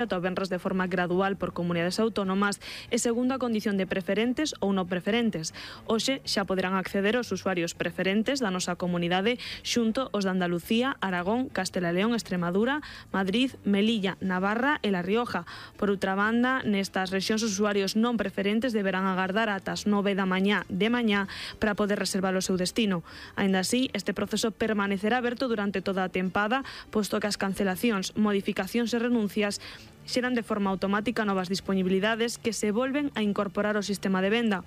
ata o venres de forma gradual por comunidades autónomas e segundo a condición de preferentes ou non preferentes. Hoxe xa poderán acceder os usuarios preferentes da nosa comunidade xunto os de Andalucía, Aragón, Castela e León, Extremadura, Madrid, Melilla, Navarra e La Rioja. Por outra banda, nestas rexións os usuarios non preferentes deberán agardar ata as 9 da mañá de mañá para poder reservar o seu destino. Aínda así, este proceso permanecerá aberto durante toda a tempada, posto que as cancelacións, modificacións e renuncias xeran de forma automática novas disponibilidades que se volven a incorporar ao sistema de venda,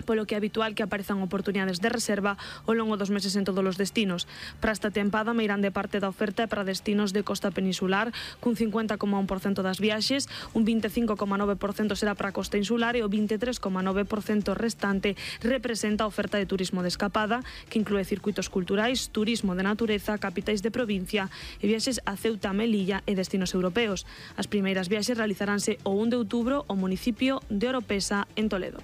polo que é habitual que aparezan oportunidades de reserva ao longo dos meses en todos os destinos. Para esta tempada, meirán de parte da oferta para destinos de costa peninsular, cun 50,1% das viaxes, un 25,9% será para a costa insular e o 23,9% restante representa a oferta de turismo de escapada, que inclúe circuitos culturais, turismo de natureza, capitais de provincia e viaxes a Ceuta, Melilla e destinos europeos. As primeiras viaxes realizaránse o 1 de outubro ao municipio de Oropesa, en Toledo.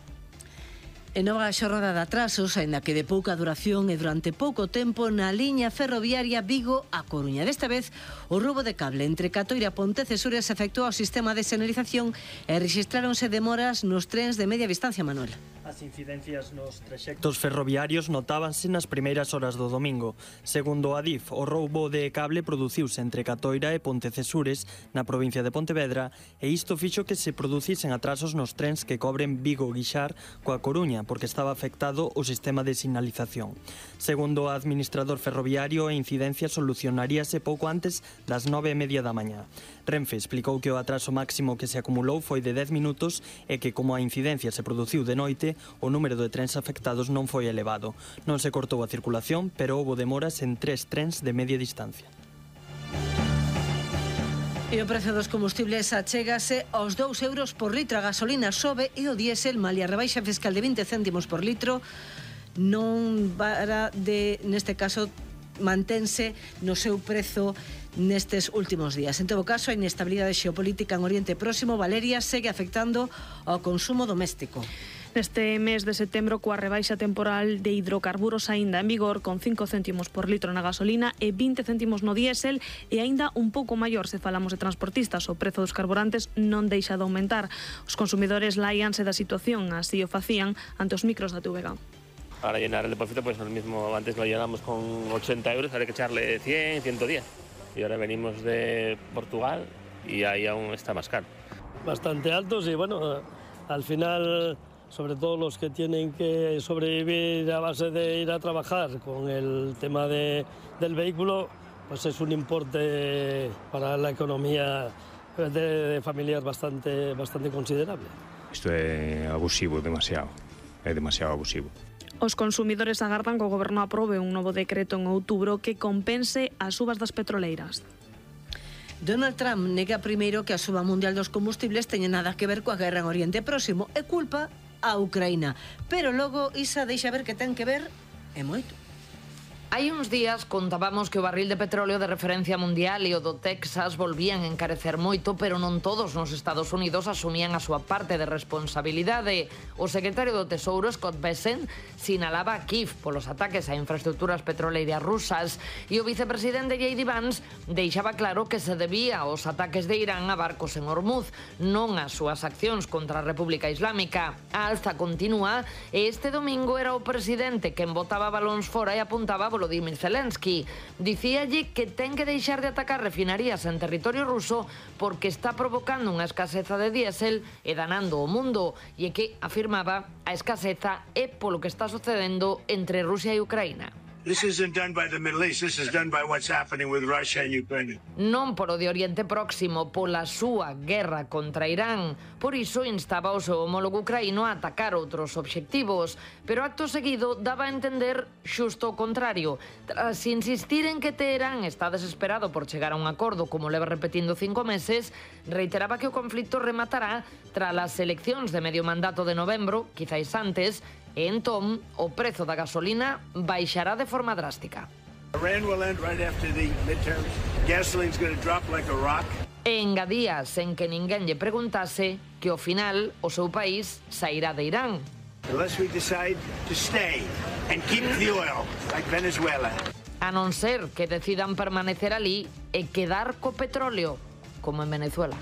E nova xornada de atrasos, aínda que de pouca duración e durante pouco tempo na liña ferroviaria Vigo-A Coruña. Desta vez, o roubo de cable entre Catoira e Pontecesures afectou ao sistema de señalización e rexistráronse demoras nos trens de media distancia, Manuel. As incidencias nos traxectos ferroviarios notábanse nas primeiras horas do domingo. Segundo a DIF, o roubo de cable produciuse entre Catoira e Pontecesures na provincia de Pontevedra e isto fixo que se producisen atrasos nos trens que cobren Vigo-Guixar coa Coruña, porque estaba afectado o sistema de sinalización. Segundo o administrador ferroviario, a incidencia solucionaríase pouco antes das 9:30 da mañá. Renfe explicou que o atraso máximo que se acumulou foi de 10 minutos e que, como a incidencia se produciu de noite, o número de trens afectados non foi elevado. Non se cortou a circulación, pero houbo demoras en 3 trens de media distancia. E o prezo dos combustibles achégase aos 2 euros por litro. A gasolina sobe e o diésel, malia a rebaixa fiscal de 20 céntimos por litro, non para de, neste caso, mantense no seu prezo nestes últimos días. En todo caso, a inestabilidade xeopolítica en Oriente Próximo, Valeria, segue afectando ao consumo doméstico. Neste mes de setembro, coa rebaixa temporal de hidrocarburos aínda en vigor, con 5 céntimos por litro na gasolina e 20 céntimos no diésel, e aínda un pouco maior se falamos de transportistas. O prezo dos carburantes non deixa de aumentar. Os consumidores laianse da situación, así o facían ante os micros da TVG. Para llenar el depósito, pues lo mismo, antes lo llenamos con 80 euros, ahora hay que echarle 100, 110. Y ahora venimos de Portugal y ahí aún está más caro. Bastante altos y bueno, al final, sobre todo los que tienen que sobrevivir a base de ir a trabajar con el tema del vehículo, pues es un importe para la economía de familias bastante considerable. Isto é abusivo, demasiado abusivo. Os consumidores agardan que o Goberno aprobe un novo decreto en outubro que compense as subas das petroleiras. Donald Trump nega primeiro que a suba mundial dos combustibles teña nada que ver coa guerra en Oriente Próximo e culpa a Ucraína. Pero logo Isa deixa ver que ten que ver e moito. Hai uns días contábamos que o barril de petróleo de referencia mundial e o do Texas volvían a encarecer moito, pero non todos nos Estados Unidos asumían a súa parte de responsabilidade. O secretario do Tesouro, Scott Bessent, sinalaba a Kiev polos ataques a infraestructuras petroleiras rusas e o vicepresidente J.D. Vance deixaba claro que se debía aos ataques de Irán a barcos en Hormuz, non as súas accións contra a República Islámica. A alza continúa e este domingo era o presidente quen botaba balóns fora e apuntaba a Volodymyr Zelensky. Dicíalle que ten que deixar de atacar refinerías en territorio ruso porque está provocando unha escaseza de diésel e danando o mundo, e que afirmaba a escaseza é polo que está sucedendo entre Rusia e Ucraína. This isn't done by the Middle East, this is done by what's happening with Russia and Ukraine. Non polo de Oriente Próximo, pola súa guerra contra Irán. Por iso instaba o seu homólogo ucraíno a atacar outros obxectivos, pero acto seguido daba a entender xusto o contrario. Tras insistir en que Teherán está desesperado por chegar a un acordo, como leva repetindo 5 meses, reiteraba que o conflito rematará tras as eleccións de medio mandato de novembro, quizáis antes, e entón o prezo da gasolina baixará de forma drástica. Iran will end right after the midterms. Gasoline's going to drop like a rock. E engadía, sen que ninguén lle preguntase, que ao final o seu país sairá de Irán. Unless we decide to stay and keep the oil like Venezuela. A non ser que decidan permanecer ali e quedar co petróleo. como en Venezuela.